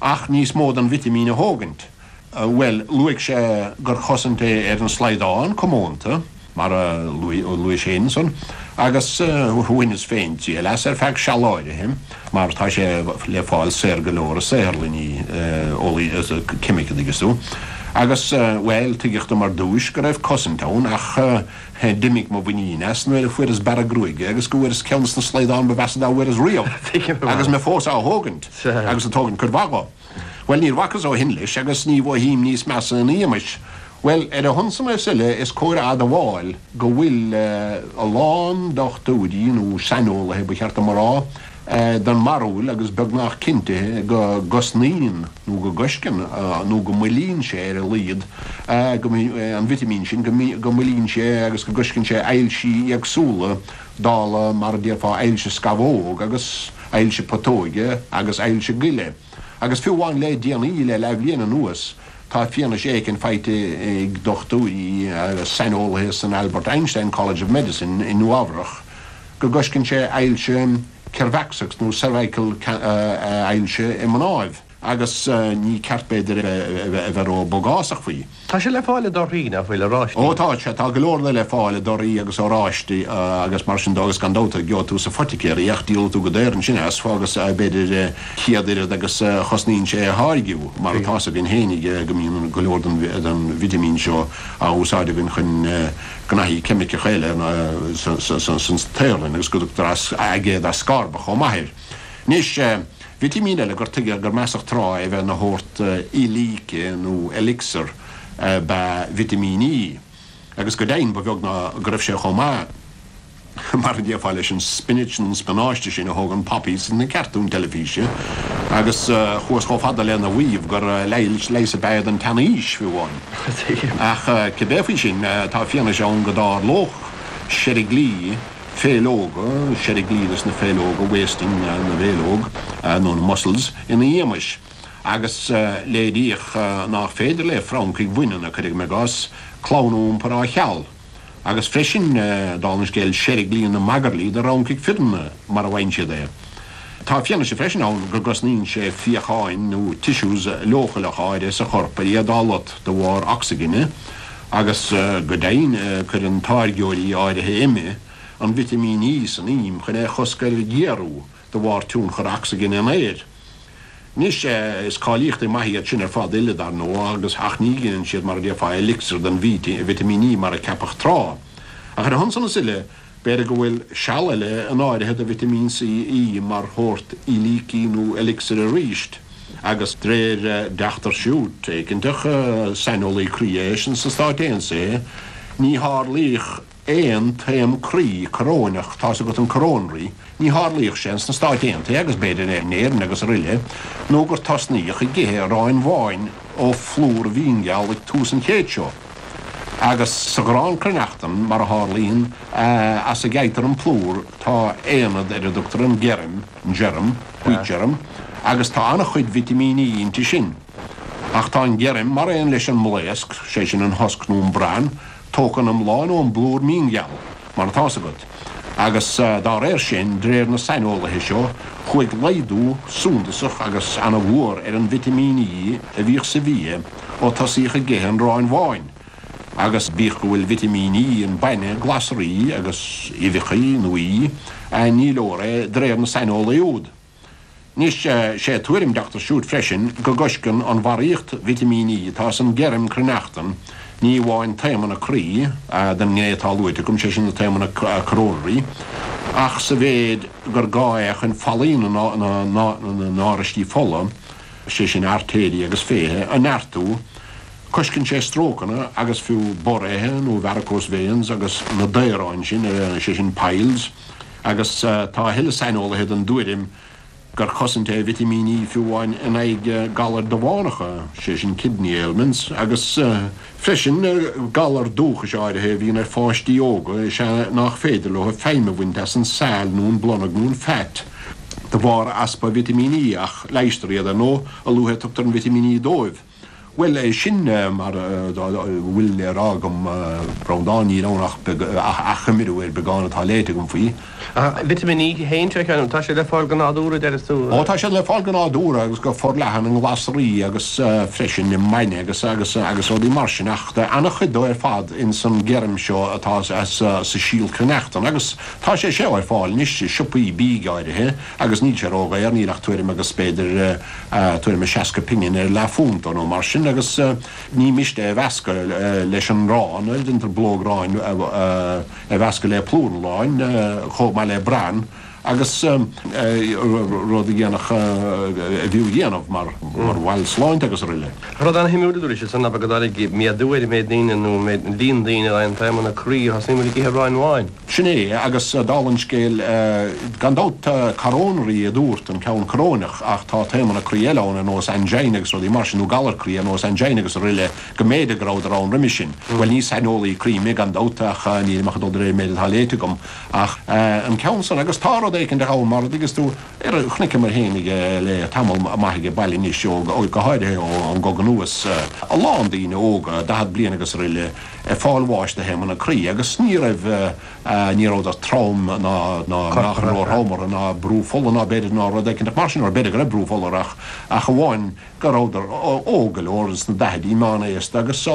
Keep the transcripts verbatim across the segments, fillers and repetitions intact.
Ach níos mó den vitimín a thógaint. Bhuel, luaigh sé gur chosaint é ar an slaghdán comónta, mar a luaigh sé ansan, agus bhaineas féin triail as ar feadh seal áirithe, mar tá sé le fáil saor go leor i saotharlanna ceimice, an dtuigeann tú. Agus, bhuel, tuigeadh dom ar dtúis go raibh cosaint ann, ach d'imigh mo mhuinín as nuair a fuaireas bearradh gruaige agus go bhfuaireas ceann de na slaghdáin ba mheasa dá bhfuaireas riamh, agus mé fós á thógaint, agus ag tógaint cuid mhaith dho. Bhuel, níor bhacas ó shin leis agus ní mhothaím níos measa ina éagmais. Bhuel, ar a shon san is uile, is cóir a admháil go bhfuil a lán dochtúirí, nó saineolaithe ba cheart dom a rá, den mbarúil agus beagnach cinntithe go gcosnaíonn nó go gcoisceann nó go moillíonn sé ar a laghad an vitimín sin, go moillíonn sé agus go gcoisceann sé ailsí éagsúla dála mar a déarfá ailse scamhóg agus ailse putóige agus ailse goile. Agus fiú amháin le déanaí, le leathbhliain anuas, tá fianaise éicint faighte ag dochtúirí agus saineolaithe san Albert Einstein College of Medicine i Nua-Eabhrac go gcoisceann sé ailse ceirbheacsach nó cervical ailse i mnáibh agus ní ceart b'fhéidir a bheith ró-bhogásach faoi. Tá sé le fáil i dtorthaí, nach bhfuil, oráistí? Ó tá sé, tá go leor de le fáil i dtorthaí agus oráistí agus mar sin de agus gan dabht gheobhaidh tú sa phoiticéir é ach díolfaidh tú go daor ansin as agus b'fhéidir céad oiread agus a chosnaíonn sé a tháirgiú mar atá 's againn fhéinig go mbíonn go leor den vitimín seo á úsáid againn chun gnaithí ceimiceacha eile san tsaotharlann agus go dtugtar aigéad ascorbach chomh maith air. Anois, vitimín eile gur tuigeadh gur measadh tráth é a bheith ina shórt eilíce nó elixir ab ea vitimín E, agus go deimhin ba bheag ná go raibh sé chomh maith, mar a déarfá, leis an spinach nó an spionáiste sin a thógann poppies sna cartúin teilifíse, agus chuathas chomh fada lena mhaíomh gur leigheas ab ea é don tseanaois, fiú amháin. Ach cibé faoi sin, tá fianaise ann go dtarlódh seiriglí féithleoga, seiriglí dos na féithleoga, wasting na bhféithleog, nó na muscles, ina éagmais, agus léiríodh nach féidir le francaigh bhaineanna, cuirim i gcás, clann a iompar á sheal, agus freisin, dála an scéil, seiriglí na magairlí do fhrancaigh fireanna, mar a mhaíonn siad é. Tá fianaise freisin ann go gcosnaíonn sé fíocháin nó tissues leochaileacha áirithe sa chorp ar iad á lot de bharr ocsaigine, agus go deimhin cuireann táirgeoirí áirithe ime an vitimín E san im chun é a chosc ar ghéarú de bharr tionchar ocsaigine an aeir. Anois, is cáilíochtaí maithe iad sin ar fad uile, dar ndóigh, agus ach ní ghineann siad, mar a déarfá, elixir den vitimín E mar a ceapadh tráth. Ach ar a shon san is uile, b'fhéidir go bhfuil seal eile in áirithe do vitimín C E mar shórt eilící nó elixir arís, agus de réir Deachtar Shute, éiginteach, saineolaí croí eisean sna Stáit Aontaithe, ní tharlaíodh aon taom croí coróineach, tá's agat an coronary, ní tharlaíodh sé sna Stáit Aontaithe agus b'fhéidir in Éirinn agus aroile, nó gur tosnaíodh ag ithe aráin bháin ó phlúr mhíngheal ag tús an chéid seo. Agus sa ghrán cruithneachtan, mar a tharlaíonn, as a gheibhtear an plúr, tá aonad ar a dtugtar an geirm, germ, wheat germ, agus tá an-chuid vitimín E inti sin. Ach tá an geirm, mar aon leis an mblaosc, sé sin an husk nó an bran, tógtha go hiomlán ón bplúr míngheal, mar atá's agat, agus dá réir sin, de réir na saineolaithe seo, chuaigh laghdú suntasach agus ana-mhór ar an vitimín E a bhíodh sa bhia ó tosaíodh ag ithe an aráin bháin, agus bíodh go bhfuil vitimín E in bainne, glasraí agus uibheacha nó í, ní leor é de réir na saineolaí úd. Anois, sé tuairim Dochtúir Shute freisin go gcoisceann an bharraíocht vitimín E atá san geirm cruithneachtan ní amháin taomanna croí, den ngné atá luaite agam, sé sin na taomanna coronary, ach sa mhéid gur gá é chun fallaí na n-áraistí fola, sé sin artéirí agus féithe, a neartú, coisceann sé strócanna agus fiú borréithe nó varicose veins agus na daoráin sin, sé sin piles, agus tá a thuilleadh saineolaithe den dtuairim gur chosaint é vitimín E fiú amháin in aghaidh galair damhánacha, sé sin kidney ailments, agus freisin galar dúchais áirithe a bhíonn ar pháistí óga is ea nach féidir leo feidhm a bhaint as an saill nó an blonag nó an fat de bharr easpa vitimín E, ach leigheastar iad, ar ndóigh, a luaithe a tugtar an vitimín E dóibh. Bhuel, sin mar a bhfuil le rá agam, a Bhreandáin, níl ann ach achoimriú ar beagán atá léite agam faoi. Vitimín E féin, tá sé le fáil go nádúrtha, a deireas tú? Ó, tá sé le fáil go nádúrtha agus go forleathan i nglasraí agus freisin i mbainne agus agus agus rudaí mar sin ach tá an-chuid dó ar fad ins an gheirm seo atá sa síolchneachtan agus tá sé seo ar fáil anois i siopaí bídh áirithe agus níl sé ródhaor, níl ach tuairim agus b'fhéidir tuairim is seasca pingin ar leathphunt nó mar sin agus ní miste é a mheascadh leis an arán, déantar blóg aráin a mheascadh le plúr an aráin chomh maith le bran agus rud a dhéanfadh, a bhfiú a dhéanamh mar bhail sláinte agus araile. Rud an-shuimiúil a dúirt siad san ná go dtáinig méadú ar an méid daoine nó an líon daoine a fhaigheann taomanna croí a thosaíonn ag ithe aráin bháin. Sin é, agus dála an scéil, gan dabht coronary a dúirt an ceann coróineach ach tá taomanna croí eile ann ar nós angina agus rudaí mar sin, nó galar croí ar nós angina agus araile, go mb'fhéidir go rabhadar ann roimhe sin. Bhuel, ní saineolaí croí mé gan dabht ach nílim ach ag dul de réir an méid atá léite agam. Ach an ceann san, agus tá rud éicint ann mar a dtuigeas tú, ar a chonaiceamar féinig le tamall maith aige baile anois, ó go háirithe ón gcogadh anuas, a lán daoine óga, daichead bliain agus araile, ag fáil bháis de thaomanna croí agus ní raibh, ní rabhadar trom ná ná meáchan róthrom orthu ná brú fola ná b'fhéidir ná rud éicint mar sin, or b'fhéidir go raibh brú fola orthu ach ach amháin go rabhadar óg go leor ins na daichidí, meánaosta agus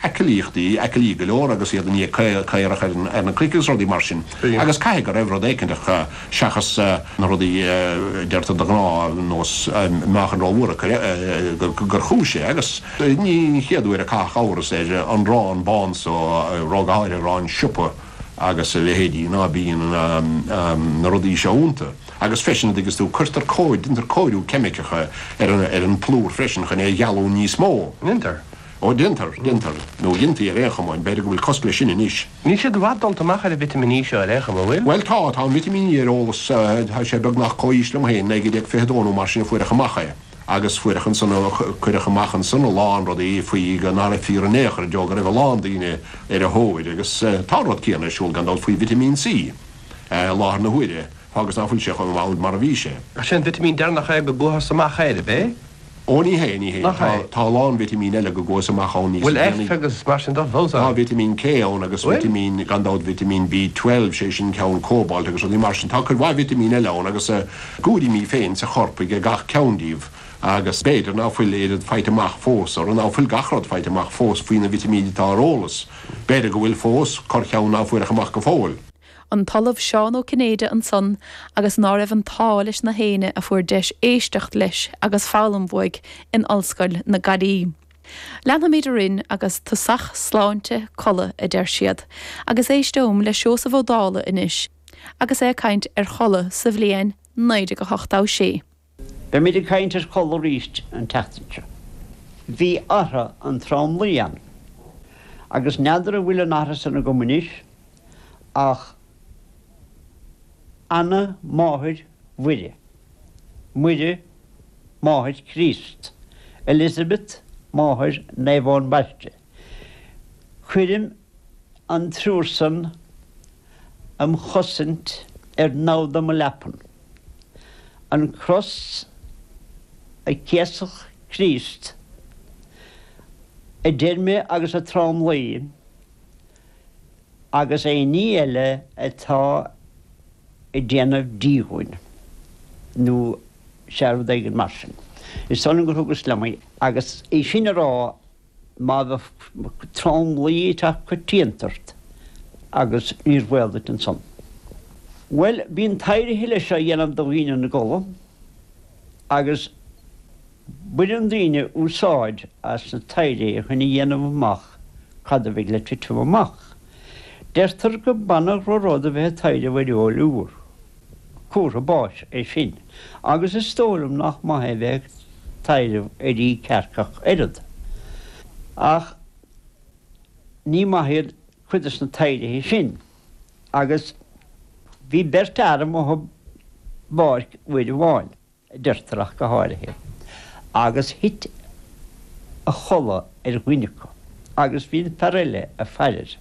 aclaíochtaí, aclaí go leor agus iad i ndiaidh caorach ar na cnoic agus rudaí mar sin. Agus caithfidh go raibh rud éicint acu seachas na rudaí a deirtear de ghnáth ar nós meáchan rómhór gur chúis é. Agus ní an chéad uair a caitheadh amhras ar an arán bán so, go háirithe arán siopa agus a leithéidí, ná bíonn na rudaí seo iontu. Agus freisin, a dtuigeas tú, cuirtear cóir, déantar cóiriú ceimiceach ar an bplúr freisin chun é a ghealú níos mó. Déantar? Ó, déantar, déantar. Nó dhéantaí ar aon chuma, b'fhéidir go bhfuil cosc leis sin anois. Níl siad i bhfad dulta amach ar an vitimín E seo ar aon chuma, an bhfuil? Bhuel, tá, tá an vitimín E ar eolas, tá sé beagnach comhaois liom féin, naoi déag fiche a dó nó mar sin a fuaireadh amach é. Agus fuaireadh ansan, cuireadh amach ansan a lán rudaí faoi go ná raibh fíor in aon chor i dtreo go raibh a lán daoine ar a thóir agus tá an rud céanna ar siúl gan dabht faoi vitimín C i láthair na huaire agus ná fuil sé chomh mall mar a bhí sé. Ach sé an vitimín deireanach é go gcuathas amach air, ab é? Ó ní hé, ní hé. Nach é? Tá a lán vitimín eile go gcuathas amach ann níos Bhfuil F déanaí. agus mar sin de fós Tá ann? vitimín K ann agus Bhfuil? vitimín, gan dabht vitimín B twelve, sé sin ceann cóbailt agus rudaí mar sin. Tá cuid mhaith vitimín eile ann agus a gcúraimí féin sa chorp ag gach ceann díobh agus b'fhéidir ná fuil oiread faighte amach fós orthu, ná fuil gach rud faighte amach fós faoi na vitimíní atá ar eolas. B'fhéidir go bhfuil fós corrcheann ná fuaireadh amach go fóill. An tOllamh Seán Ó Cinnéide ansan agus ná raibh an t-ádh leis na héinne a fuair deis éisteacht leis agus foghlaim uaidh in Ollscoil na Gaillimhe. Leanfaimid orainn agus tosach sláinte codladh a deir siad, agus éisteom le Seosamh Ó Dálaigh anois agus é ag caint ar chodladh sa bhliain naoi déag a hocht a sé. Beimid ag caint ar chodladh arís an tseachtain seo. Bhí atha an tromluí ann, agus n'fheadar an bhfuil an atha san agam anois, ach Anna máthair Mhuire, Muire máthair Chríost, Elizabeth máthair Naomh Eoin Baiste. Cuirim an triúr san am chosaint ar namhda mo leapan. An cros a céasadh Críost, a deir mé agus a tromluí, agus aon ní eile atá ag déanamh díomhaoin, nó sea, rud éigin mar sin. Is dóigh liom gur thugas liom í. Agus é sin a rá, má bheadh tromluí ag teacht coitianta ort, agus níor bhaol duit ansan. Bhuel, bíonn taidhrithe leis á dhéanamh do dhaoine ina gcodladh, agus Baineann daoine úsáid as na taidhrithe chun a dhéanamh amach cad a bheidh le titim amach. Deirtear go baineadh rud a bheith ag taidhreamh ar fheoil úr. Comhartha báis é sin, agus is dóigh liom nach maith é bheith ag taidhreamh ar ith cearc ach oiread. Ach ní maith iad cuid des na taidhrithe sin. Agus bhí beirt fhear amuigh i bpáirc uair amháin. a deirtear ach go háirithe, agus thit a chodladh ar dhuine acu, agus bhí an fear eile ag faire air.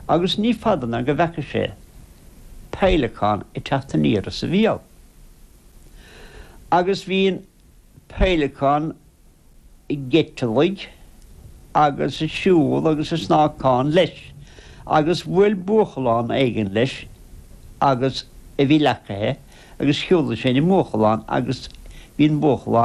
Agus ní fada ná go bhfeaca sé peidhleacán ag teacht aniar as a bhéal. Agus bhí an peidhleacán ag eiteallaigh agus ag siúl agus ag snácán leis agus bhuail buachallán éigin leis agus a bhí leacaithe agus shiúlaigh sé ina mbuachallán agus bhí an buachallán